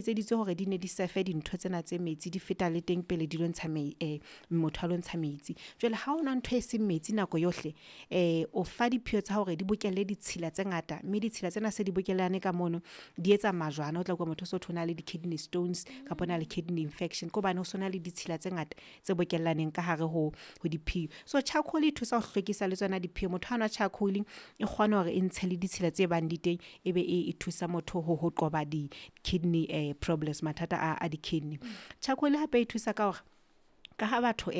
Etseditswe hore di ne di sefe dintho tsena tse metsi, di feta le teng pele di lo ntsha motho a lo ntsha metsi. Jwale ha o nwa ntho e seng metsi nako yohle, o fa diphio tsa hore di bokelle ditshila tse ngata mme ditshila tsena se di bokellane ka mono di etsa majwana. O tla utlwa motho o so thwe o na le di-kidney stones kapa o na le kidney infection. Ke hobane ho so na le ditshila tse ngata tse bokellaneng ka hare ho diphio. So charcoal e thusa ho hlwekisa le tsona diphio. Motho ha nwa charcoal e kgona hore e ntshe le ditshila tse bang di teng, ebe e thusa motho ho qoba di-kidney problems, mathata a di-kidney. Charcoal hape e thusa ka hore ka ha batho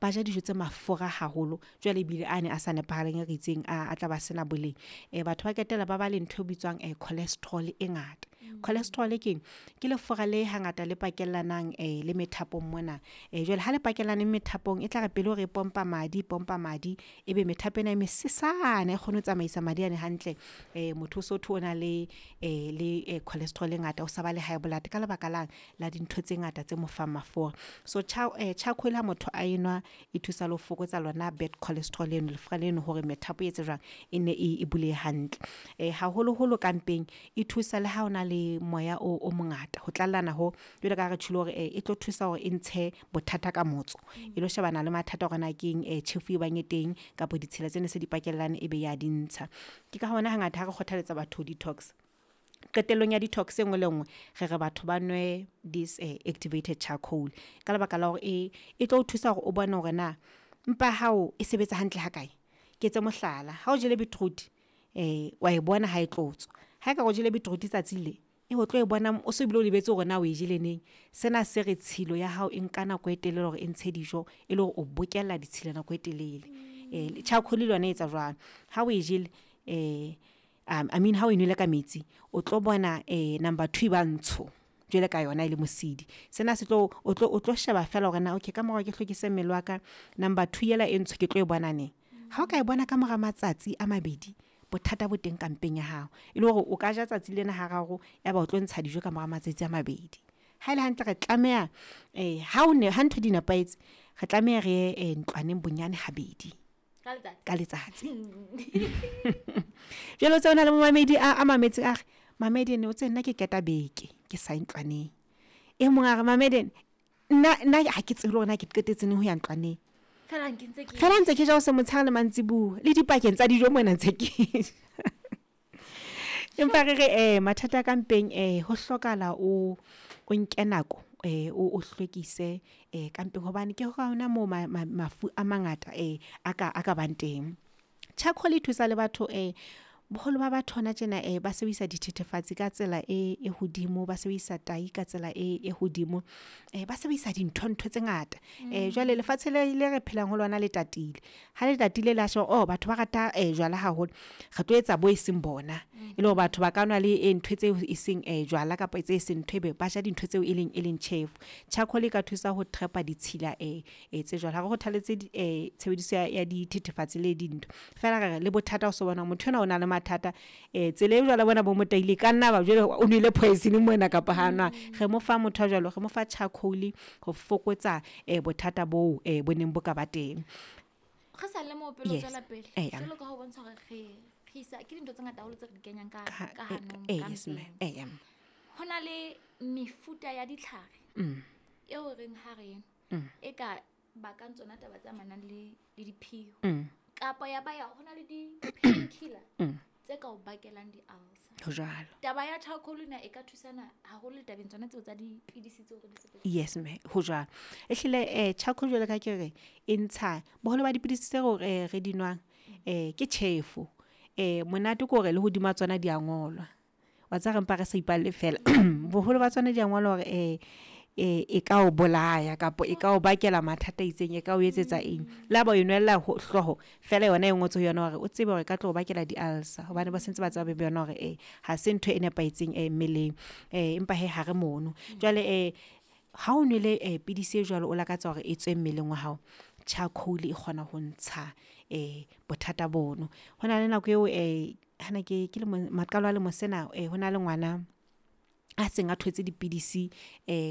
ba ja dijo tse mafura haholo, jwale ebile ane a sa nepahalang e re itseng a tla ba sena boleng. Batho ba qetella ba ba le ntho e bitswang cholesterol e ngata. Cholesterol keng? Ke lefura le hangata le pakellanang le methapong mona. Jwale ha le pakellane methapong, e tla re pele hore e pompa madi, pompa madi ebe methapo ena e mesesane ha e kgone ho tsamaisa madi ane hantle. Motho o so thwe o na le cholesterol e ngata, o sa ba le high blood ka lebaka lang la dintho tse ngata tse mo fang mafura. So charcoal ha motho a enwa e thusa le ho fokotsa lona bad cholesterol eno, lefura leno hore methapo e etse jwang, e nne e bulehe hantle. Haholoholo ka mpeng e thusa le ha ona le moya o mongata, ho tlallana ho jwalo ka ha re tjholo hore e tlo thusa hore e ntshe bothata ka motso. E lo shebana le mathata hore na keng tjhefu e bang e teng kapa ditshila tsena se di pakellane ebe ya di ntsha. Ke ka hona hangata ha re kgothaletsa batho ho detox, qetellong ya detox e nngwe le nngwe re re batho ba nwe this activated charcoal. Ka lebaka la hore e tlo o thusa hore o bone hore na mpa ya hao e sebetsa hantle ha kae. Ke etse mohlala, ha o jele beetroot wa e bona ha e tlo tswa. Ha ekare o jele beetroot tsatsing le, o tlo e bona o so bile o lebetse hore na oe jele neng. Sena se re tshilo ya hao e nka nako e telele hore e ntshe dijo e le hore o bokella ditshila nako e telele. Charcoal le yona e etsa jwalo. Ha o e jele I mean ha o nwele ka metsi, o tlo bona number two e ba ntsho jwalo ka yona e le mosidi. Sena se tlo, o tlo sheba feela hore na okay, ka mora ke hlwekise mmele wa ka, number two ela e ntsho ke tlo e bona neng. Ha o ka e bona ka mora matsatsi a mabedi, bothata bo teng ka mpeng ya hao. E le hore o ka ja tsatsi lena hararo, ya ba o tlo ntsha dijo ka mora matsatsi a mabedi. Ha ele hantle re tlameha ha o ne, ha ntho di nepahetse, re tlameha re ye ntlwaneng bonyane habedi ka letsatsi. Jwale o tsebe hona le momamedi a mametse a re, Mamedi o tsebe nna ke qeta beke ke sa ye ntlwaneng. E mong a re, Mamedi nna ha ke tsebe le hore na ke qetetse neng ho ya ntlwaneng. Feela ntse ke ja hoseng, motshehare le mantsibuya, le dipakeng tsa dijo mona ntse ke ja. Empa re re mathata a ka mpeng ho hlokahala o nke nako o hlwekise ka mpeng hobane ke hona moo mafu a mangata a ka bang teng. Charcoal e thusa le batho boholo ba batho hona tjena ba sebedisa dithethefatsi ka tsela e hodimo, ba sebedisa tai ka tsela e hodimo, ba sebedisa dintho ntho tse ngata. Jwale lefatshe le re phelang ho lona le tatile, ha le tatile la sheba oh batho ba rata jwala haholo, re tlo etsa bo e seng bona. E le hore batho ba ka nwa le ntho tseo e seng jwala kapa tse seng ntho ebe ba ja dintho tseo e leng tjhefu. Charcoal e ka thusa ho trap-a ditshila tse jwalo. Ha re kgothaletse tshebediso ya dithethefatsi le dintho. Feela re re le bothata o so bona motho enwa o na le mathata tsela e jwala bona bo mo taile ka nna ba jwale o nwele poison mona kapa ha nwa. Re mo fa motho a jwalo, re mo fa charcoal ho fokotsa bothata bo bo neng bo ka ba teng. Re sa le mo pele o tswela pele. Jwalo ka ho bontsha hore re isa ke dintho tse ngata haholo tse re di kenyang ka hanong, ka mpeng. Ho na le mefuta ya ditlhare eo reng ha re e ka bakang tsona taba tse amanang le diphio. Kapa ya ba ya ho na le di-painkiller tse ka o bakelang di-ulcer. Ho jwalo. Taba ya charcoal ena e ka thusana haholo le tabeng tsona tseo tsa dipidisi tseo re di sebedisang. Yes mme, ho jwalo. Ehlile charcoal jwalo ka ke re e ntsha boholo ba dipidisi tseo re di nwang ke tjhefo. Monate ke hore le hodima tsona di a ngolwa. Wa tseba re mpa re sa ipalle feela. Boholo ba tsona di a ngolwa hore e ka o bolaya kapa e ka o bakela mathata a itseng, e ka o etsetsa eng. Le ha ba o nwella hlooho feela yona e ngotswe ho yona hore o tsebe hore e ka tlo bakela di-ulcer hobane ba sentse ba tseba be yona hore ha se ntho e nepahetseng mmeleng. Empa hee ha re mono. Jwale ha o nwele pidisi e jwalo, o lakatsa hore e tswe mmeleng wa hao, charcoal e kgona ho ntsha bothata bono. Hona le nako eo hane ke le maqalo a lemo sena hona le ngwana a seng a thotse dipidisi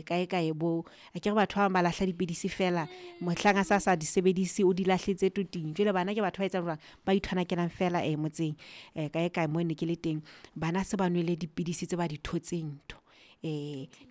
kae kae bo. Akere batho ba bang ba lahla dipidisi feela mohlang a sa di sebedise, o di lahletse toting. Jwale bana ke batho ba etsang jwang? Ba ithwanakelang feela motseng kae kae moo ne ke le teng. Bana se ba nwele dipidisi tse ba di thotseng ntho .